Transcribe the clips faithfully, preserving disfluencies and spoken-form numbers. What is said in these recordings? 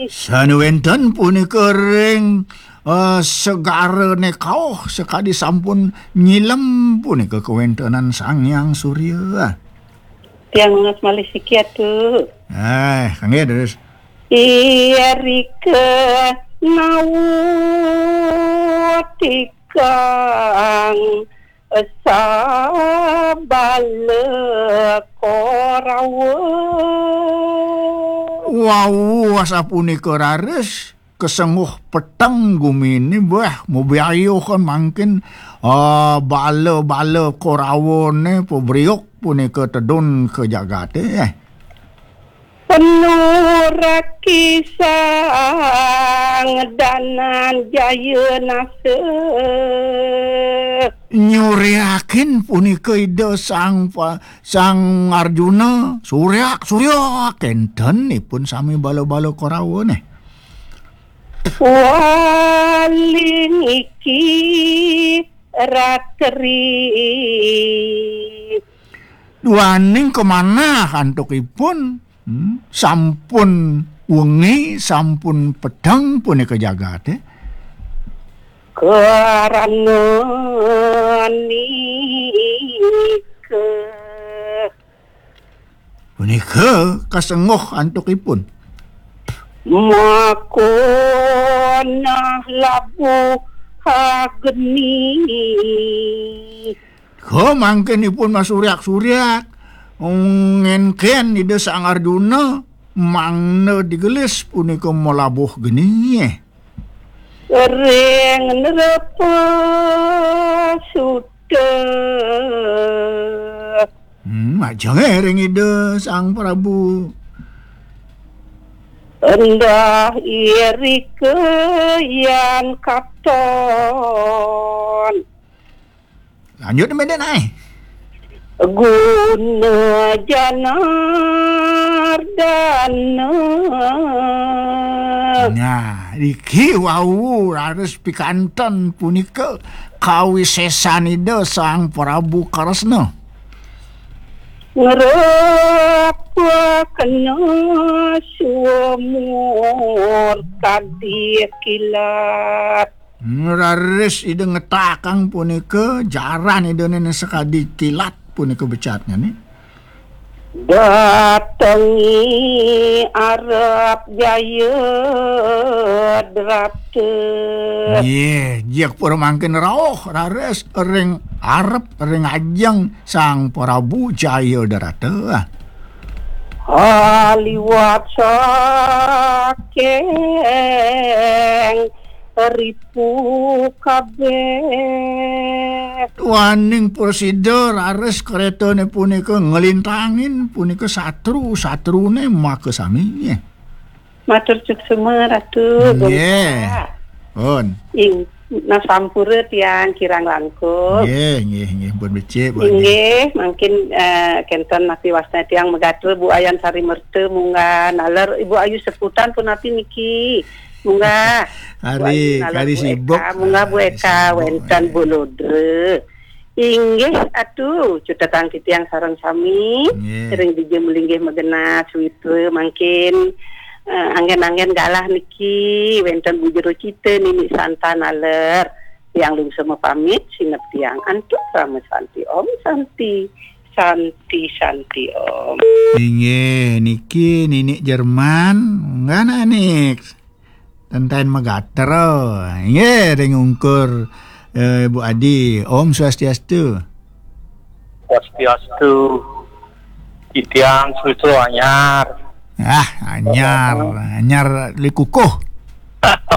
Sané wénten punika ring, eh, segarané kauh sakadi sampun nyilem punika kawéntenan Sang Hyang Surya. Tiang nunas malih siki, Atu. Eh, kanggé terus. Irika nautikang sabala Korawa. Wau, asapunika raris, kasengguh peteng guminé, bah, mabiayuh kan mangkin, ah, bala-bala Korawané pabriuk punika tedun ka jagaté, eh. Penuraki Sang Dananjaya nasa. Nyuriakin punika Ida Sang Pa-, Sang Arjuna, suryak, suryak, kénten ipun sami bala-bala Korawa né. Waling iki ratri. Duaning kamanah antuk ipun, hmm, sampun wengi, sampun peteng punika jagaté. Karana nika. Punika kasengguh antuk ipun. Makonah labuh geni. Ka mangkin ipun masuryak-suryak, ngénkén Ida Sang Arjuna, mangda digelis punika malabuh geni. Ring nrepa suta. Hmm, majengé ring Ida Sang Prabu. Endah irika yan katon. Lanjut, Mbak Denai. Guna Janardana. Nah, iki wau raris pikanten punika kawisésan Ida Sang Prabu Kresna. Ngrepakna suamur kadi kilat. Raris Ida ngetakang punika, jaran Idané sakadi kilat punika becatnyané. Datengi arep Jaya Drata. Nggih, jik pura mangkin rauh raris ring arep ring ajeng Sang Prabu Jaya Drata. Aliwat saking ripu kabéh. Duaning prasida raris krétané punika nglintangin punika satru, satruné makasami. Matur suksma, Ratu. Nggih. Bongkah. Pun. Ing, nah, sampura tiang kirang langkung. Nggih, nggih, nggih. Pun becik, Bu Adi. Inggih, mangkin, eh, kénten napi wasna tiang magatra Bu Ayan Sari Merta munggah naler Ibu Ayu Seputan punapi niki. Munggah. Hari, Bu Ayu naler hari Bu sibuk. Eka, munggah Bu Hari Eka, sibuk, wénten eh. Bu Ludra. Inggih, Atu, cutetang titiang sareng sami, nggih. Ring dija malinggih magenah, sawitra mangkin, eh, anggén-anggén galah niki, wénten Bu Jero Cita, Nini Santa naler, tiang lungsur mapamit, sineb tiang antuk Rama Santi Om, Santi, Santi, Santi Om. Inggih, niki Nini Jerman, nggana nik. Ten taén magatra. Nggih, ring ungkur, eh, Bu Adi. Om Swastiastu. Swastiastu. Titiang sawitra anyar. Ah, anyar, anyar lekukuh.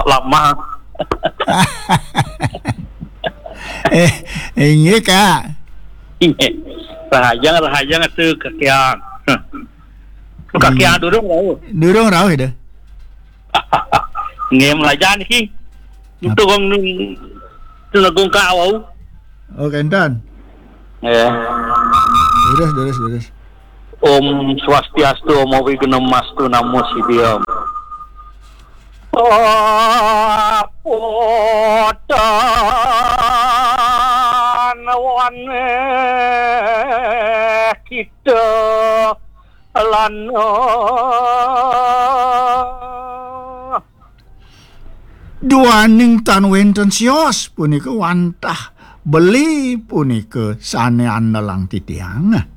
Lama. Eh, inggih, Kak. Rahajeng, rahajeng atuh kakiang. Kakiang durung rauh. Durung rauh, dah. Nggih, melajan iki. Napa? Untuk wong nun-, nunegung ka wau. Oh, kénten. Nggih. Durus, durus, durus. Om Swastiastu, Om Awighnamastu, Namo Siddham. Apotan waneh kita lan Duaning tan wénten sios punika wantah beli punika sané andelang titiang.